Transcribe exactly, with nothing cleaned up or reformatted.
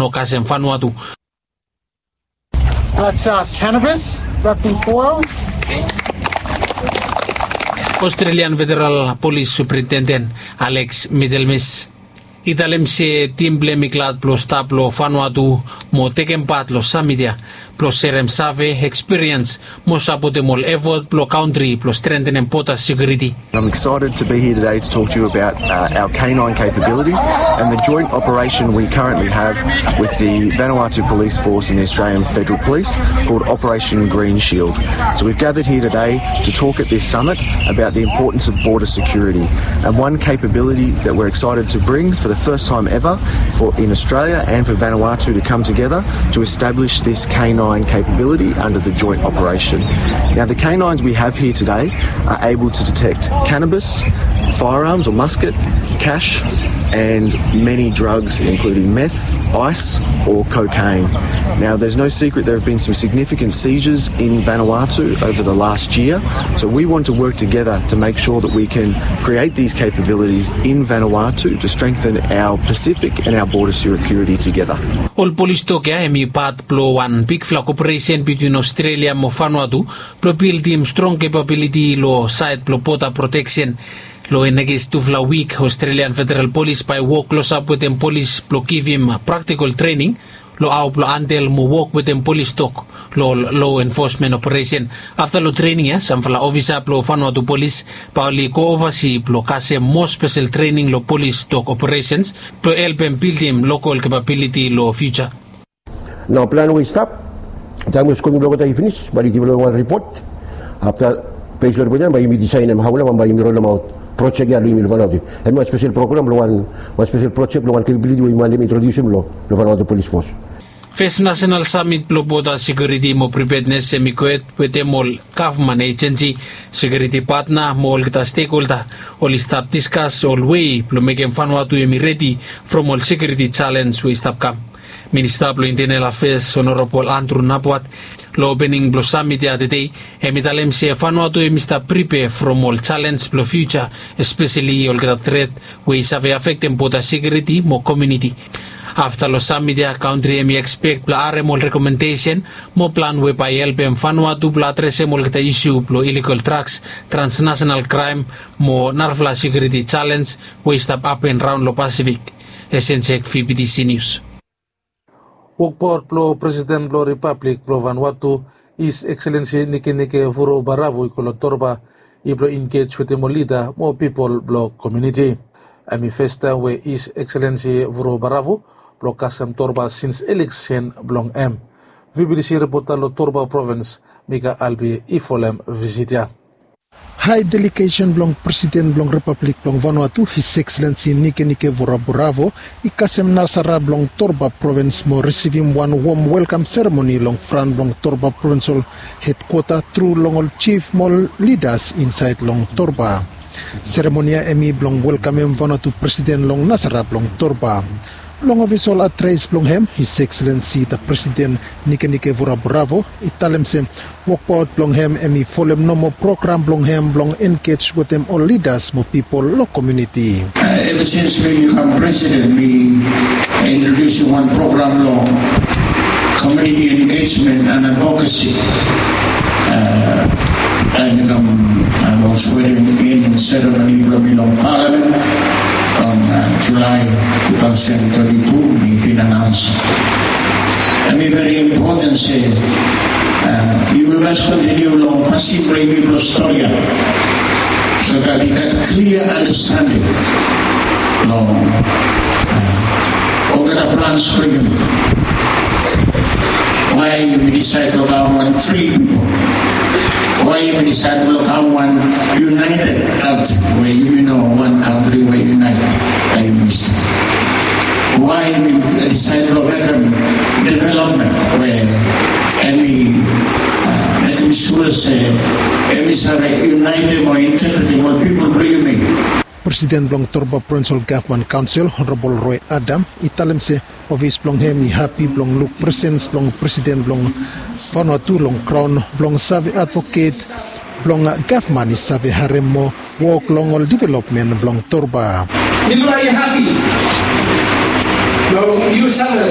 no kasem Vanuatu. That's uh, cannabis wrapped in foil. Australian Federal Police Superintendent Alex Middlemis i talem se tim blong hem i glad blong stap long Vanuatu mo tekem pat long samit ya blong serem save, ekspiriens mo sapotem ol efot blong kantri blong strentenem boda sekiuriti. I'm excited to be here today to talk to you about uh, our canine capability and the joint operation we currently have with the Vanuatu Police Force and the Australian Federal Police called Operation Green Shield. So we've gathered here today to talk at this summit about the importance of border security. And one capability that we're excited to bring for the first time ever for in Australia and for Vanuatu to come together to establish this canine capability under the joint operation. Now, the canines we have here today are able to detect cannabis, firearms or musket, cash, and many drugs, including meth, ice, or cocaine. Now, there's no secret there have been some significant seizures in Vanuatu over the last year, so we want to work together to make sure that we can create these capabilities in Vanuatu to strengthen our Pacific and our border security together. Ol polis tok ya hem i pat blong wan bigfala koperesen bitwin Australia mo Vanuatu blong bildim strong capability long saed blong boda proteksen. Long next tufala wik, Australian Federal Police bae wok klosap wetem polis blong givim praktikol trening long hao blong handel mo wok wetem polis tok long law enforcement operation. Afta long trening ya, samfala ofisa blong Vanuatu Polis bae oli go ovasi blong kasem moa spesel trening long polis tok operations blong helpem bildim lokol capability long future. Nao plan we i stap, taem we skodul blong olgeta i finis bae oli givim long wan ripot. Afta bes long ripot ya bae yumi disaed hemia hao long wan bae yumi rolemaot projek ya long yumi long Vanuatu. Hemia wan spesel program blong wan wan spesel projek blong wan capability we yumi wantem introdiusim long long Vanuatu Polis Fos. Fes nasenal samit blong boda sekiuriti mo pripednes hem i gohed wetem ol gavman ejensi, sekiuriti patna mo olgeta stekholda. Oli stap diskas ol wei blong mekem Vanuatu hem i redi from ol sekiuriti jalens we i stap kam. Minista blong Intenel Afeas Honorabol Andrew Napuat long opening blong samit ya tede hem i talem se Vanuatu hem i stap pripea from ol jalens blong fiuja, espeseli olgeta tret we i save afektem boda sekiuriti mo komuniti. Afta long samit ya, kantri hem i ekspek blong harem ol rekomendesen mo plan we bae i helpem Vanuatu blong adresem olgeta isu blong iligol draks, transnasenal kraem mo narafala sekiuriti jalens we i stap hapen raon long Pasifik. Esenjek, V B T C News. Wokbaot blong Presiden blong Ripablik blong Vanuatu, His Excellency Nikenike Vurobaravu i go long Torba, i blong engej wetem ol lida mo pipol blong komuniti. Hem i fes taem we His Excellency Vurobaravu blong kasem Torba sins eleksen blong hem. V B T C ripota long Torba provins, Mika Albi, i folem visit ya. Hae delegesen blong Presiden blong Ripablik blong Vanuatu, His Excellency Nikenike Vurobaravu, i kasem nasara blong Torba provins mo risivim wan wom welkam seremoni long fran blong Torba provinsol hedkwota tru long ol jif mo ol lidas insaed long Torba. Seremoni ya hem i blong welkamem Vanuatu Presiden long nasara blong Torba. Long ofisol adres blong hem, His Excellency the Presiden Nikenike Vurobaravu i talem se wokbaot blong hem hem i folem nomo program blong hem blong engej wetem ol lidas mo pipol long komuniti. Eva sins mi bikam presiden, mi introdiusim wan program long komuniti engejmen and advokasi. Taem mi kam long swearing in seremoni blong mi long palamen long Julae tu taosen twenti tu, mi bin anaons. Hem i veri impoten se yumi mas kontiniu long fasin we yumi blong stori ya, so that i gat klia andastanding long olgeta brans blong yumi. Wae yumi disaed blong kam wan fri pipol? Wae yumi disaed blong kam wan yunaeted kantri we yumi no wan kantri we yunaeted? Wae yumi disaed blong mekem developmen we hem i mekem sua se hem i save yunaetem o integretem ol pipol blong yumi? Presiden blong Torba Provinsol Gavman Kaonsel, Honorabol Roe Adam, i talem se ofis blong hem i hapi blong luk presens blong Presiden blong Vanuatu long graon blong save advoket blong gavman i save harem mo wok long ol developmen blong Torba. Mifala i hapi blong yu save